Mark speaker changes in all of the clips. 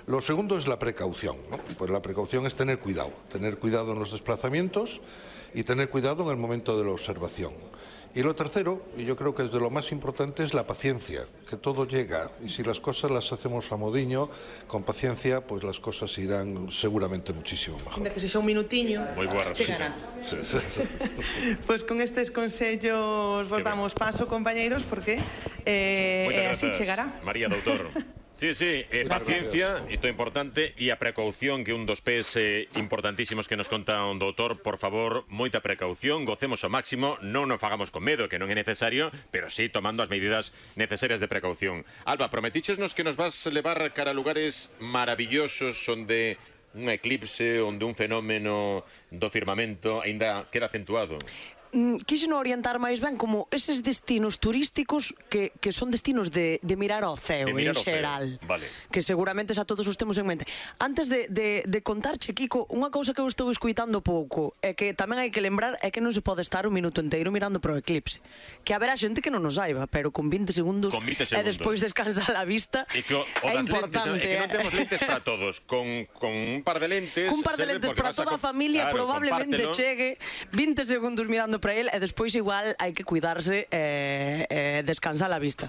Speaker 1: Lo segundo es la precaución, ¿no? Pues la precaución es tener cuidado en los desplazamientos y tener cuidado en el momento de la observación. Y lo tercero, y yo creo que es de lo más importante, es la paciencia, que todo llega, y si las cosas las hacemos a modiño, con paciencia, pues las cosas irán seguramente muchísimo mejor.
Speaker 2: Ainda que sexa un minutiño,
Speaker 3: chegará.
Speaker 2: Pois con estes consellos vos damos paso, compañeiros, porque así chegará.
Speaker 3: María, doutor. Sí, paciencia, isto é importante, e a precaución, que é un dos pés importantísimos que nos conta un doutor. Por favor, moita precaución, gocemos ao máximo, non nos fagamos con medo, que non é necesario, pero sí tomando as medidas necesarias de precaución. Alba, prometichesnos que nos vas levar cara a lugares maravillosos onde un eclipse, onde un fenómeno do firmamento aínda queda acentuado.
Speaker 4: Quixeno orientar máis ben como eses destinos turísticos que son destinos de mirar ao ceo en xeral, que seguramente xa todos os temos en mente. Antes de contarche, Kiko, unha cousa que eu estou escuitando pouco é que tamén hai que lembrar é que non se pode estar un minuto inteiro mirando pro eclipse, que haberá xente que non nos saiba, pero con 20 segundos e despois descansar a vista é importante.
Speaker 3: Que non temos lentes para todos, con un par de lentes
Speaker 4: para toda a familia, probablemente chegue 20 segundos mirando para el e despois igual hai que cuidarse e descansar a vista.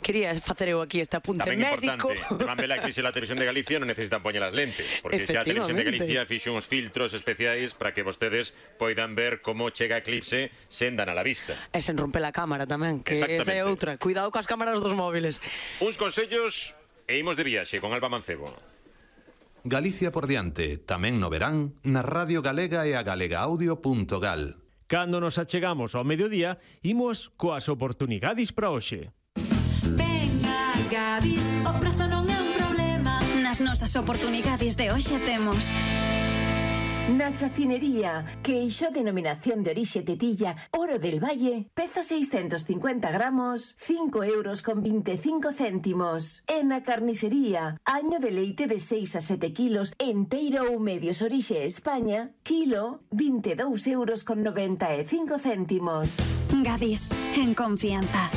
Speaker 4: Quería facer eu aquí este apunte médico.
Speaker 3: Tamén vela que se la televisión de Galicia non necesitan poñer as lentes, porque xa a televisión de Galicia fixo uns filtros especiais para que vostedes poidan ver como chega eclipse sen dan a la vista.
Speaker 4: E sen romper a cámara tamén, que esa é outra. Cuidado coas cámaras dos móviles.
Speaker 3: Uns consellos e imos de viaxe con Alba Mancebo.
Speaker 5: Galicia por diante, tamén no verán, na Radio Galega e a galegaaudio.gal.
Speaker 6: Cando nos achegamos ao mediodía, imos coas oportunidades para hoxe.
Speaker 7: Venga, Gadis, o prezo non é un problema.
Speaker 8: Nas nosas oportunidades de hoxe temos
Speaker 9: na chacinería, queixo denominación de orixe tetilla, Oro del Valle, peza 650 gramos, 5 euros con 25 céntimos. En na carnicería, año de leite de 6 a 7 kilos, enteiro ou medios orixe España, kilo, 22 euros con 95 céntimos.
Speaker 8: Gadis, en confianza.